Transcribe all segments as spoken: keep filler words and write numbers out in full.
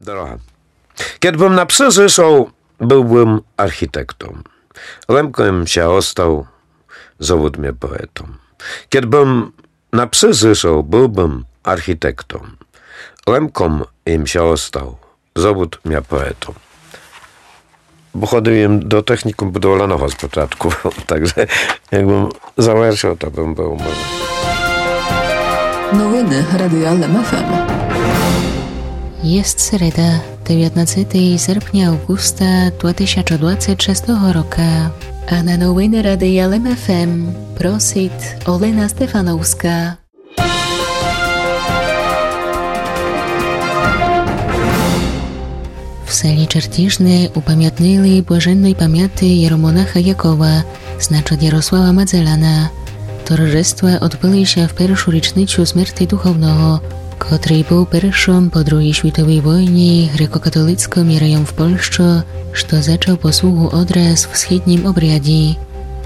Дорога. Кед бым на псы зышол, был бым архітектом. Лемко єм ся остал, зовут мя поетом. Кед бым на псы зышол, был бым архітектом. Лемко єм ся остал, зовут мя поетом. Бо ходил єм до технікум будувального з початку, так же як бым завершыл, то бым был може. Новины Радия Лем ФМ. Єст середа, девятнадцятый серпня, Авґуста, два тисячы двадцять шестого рока. А на новины Радия Лем ФМ просит Олена Стефановска. В селі Чертіжне упамятнили блаженной памяти єромонаха Якова, значит Ярослава Мадзеляна. Торжества одбыли ся в першу річницю смерти духовного, котрый был першым по другій світовій войні греко-католицкым єрейом в Польщы, што зачал послугу одраз в східнім обряді.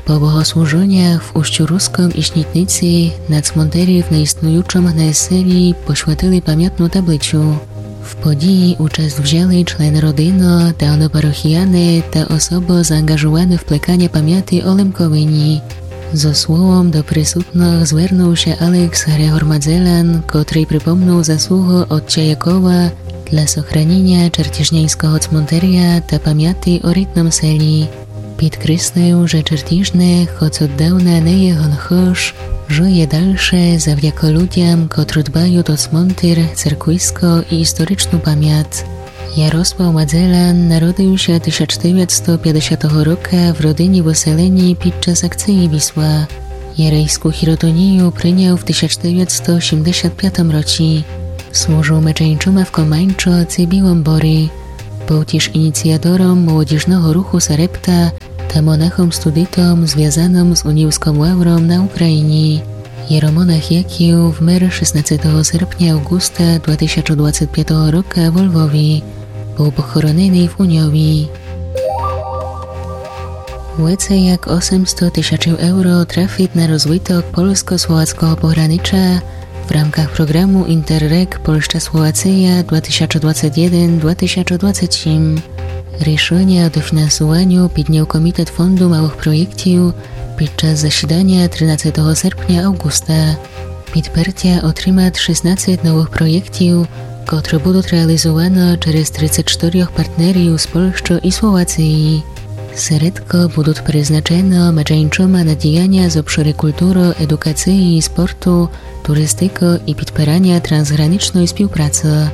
По богослужынях в Устю-Рускым і Снітниці на цмонтері в неіснуючым гнай селі посвятили памятну таблицю. В події участ взяли члены родины, давно парохіяны та особы заанґажувані в плеканя памяти о Лемковині. Зо словом до присутных звернул ся Алекс Грегор Мадзелян, котрый припомнул заслугу отця Якова для сохраніня чертіжняньского цмонтеря та памяти о рідным селі. Підкреслил, же Чертіжне, хоц оддавна не є ген хыж, жыє дальше завдяко людям, котры дбают о цмонтер, церквиско і історичну памят. Ярослав Мадзелян народил ся тисяч девятсто пятдесятого рока в родині в селені під час акциі Вісла. Єрейску хіротонію принял в тисяч девятсто сімдесят пятым році. Служыл медженчума в Команчо ци Білым Борі. Был тіж ініціатором молодіжного руху Сарепта та монахом-студитом, звязаным з уніївскым лавром на Україні. Єромонах Яків вмер шестнадцятого серпня, Авґуста, два тисячы двадцять пятого рока во Львові. Был похороненый в Уньові. Веце як осемсто тисячів евро трафит на розвиток польско-словацкого погранича в рамках програму Інтерреґ Польща-Словація два тисячы двадцять єден, два тисячы двадцять сім. Рішыня о дофінансуваню піднял Комітет фонду малых проєктів під час засіданя тринадцятого серпня, Авґуста. Підпертя отримат шістнадцять новых проєктів, котры будут реалізуваны через тридцять штырьох партнерів з Польщы і Словациі. Середкы будут призначены медженчума на діяня з обшыру культуры, едукациі, спорту, туристикы і підпераня трансграничной співпраци.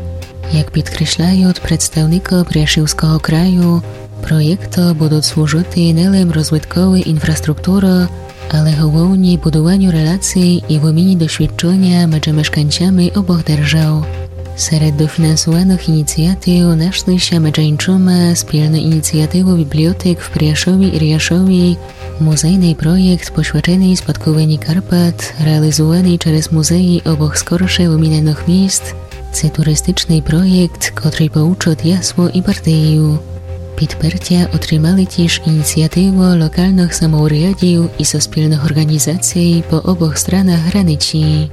Як підкресляют представникы Пряшівского краю, проєкты будут служыти не лем розвиткови інфраструктуры, але головні будуваню релаций і выміні досвідчыня медже мешканцями обох держав. Серед дофінансуваных ініціатив нашли ся медженчума спільны ініціативы бібліотек в Пряшові і Ряшові, музейный проєкт посвяченый спадковині Карпат, реалізуваный через музеї обох скорше выміненых міст, ци туристичный проєкт, котрый поучыт Ясло і Бартею. Підпертя отримали тіж ініціативы локалных самоурядів і суспільных орґанізаций по обох странах границі.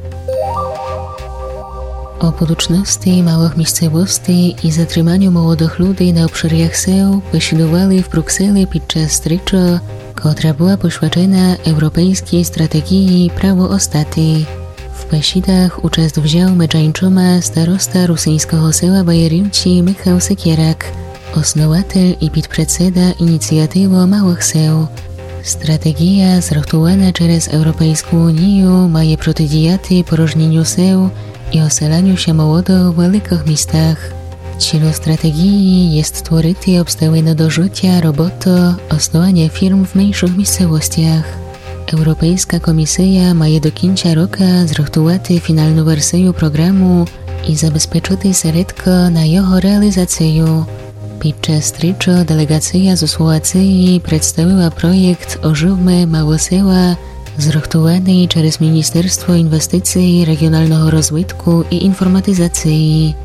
О будучности малых місцевостей і затриманю молодых людей на обшырях сел бесідували в Брюксели під час стрічы, котра была посвячена Европейскій стратеґії Право остати. В бесідах участ взял медженчума староста русиньского села Баярівці Михал Секєрак, основатель і підпредседа Ініціативы малых сел. Стратеґія, зрыхтувана через Европейску унію, має протидіяти порожніню сел і оселяню ся молодых в великых містах. Цілом стратеґії єст створити обставины до жытя, роботы, основаня фірм в меншых місцевостях. Европейска комісия має до кінця рока зрыхтувати фіналну версию програму і забезпечыти середкы на його реалізацию. Під час стрічы делеґация зо Словациї представила проєкт «Оживме малы села», зрыхтуваный через Міністерство інвестиций, реґіоналного розвитку і інформатизациї.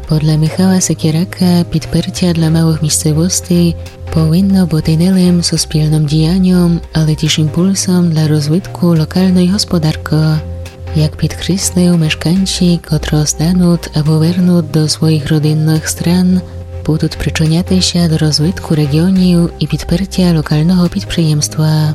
Подля Михала Секєрака підпертя для малых місцевостей повинно быти не лем суспільным діяньом, але тіж імпульсом для розвитку локалной господаркы. Як підкреслив, мешканці, котрі остануть або вернуть до своїх родинных стран, будуть причиняти ся до розвитку регіонів і підпертя локалного підприємства.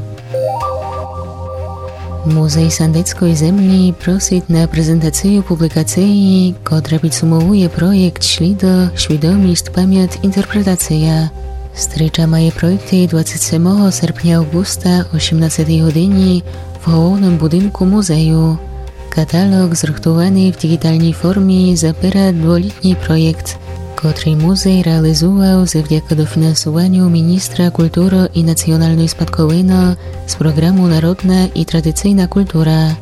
Музей сандецької землі просить на презентацію публікації, котра підсумовує проєкт «Шлідо, свідомість, память, інтерпретація». Стріча має пройти двадцять семого серпня августа о сімнадцятій годині в головному будинку музею. Каталог, зрыхтованый в діґіталній формі, запира дволітній проєкт, котрый музей реалізував завдяки дофінансованю міністра культуры і національної спадковины з програму «Народна і традиційна культура».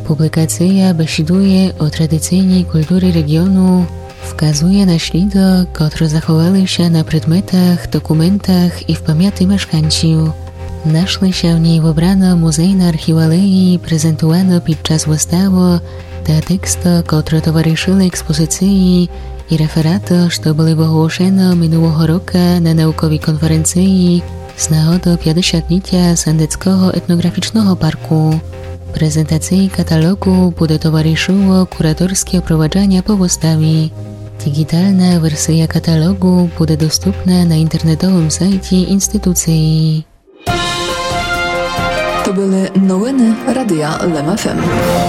Публікація бесідує о традиційній культурі регіону, вказує на шлідо, котрі заховали ся на предметах, документах і в памяти мешканців. Нашли ся в ній выбрано музейно-архівалеї, презентовано під час выставы, та тексты, котрі товаришили експозиції, і рефераты, што были оголошено минулого рока на науковій конференції з нагоды пятдесятнітя Сандецького етноґрафічного парку. Презентації каталогу буде товаришило кураторське проваджаня по выставі. Діґітална версія каталогу буде доступна на інтернетовому сайті інституції. То были новины Радия Лем ФМ.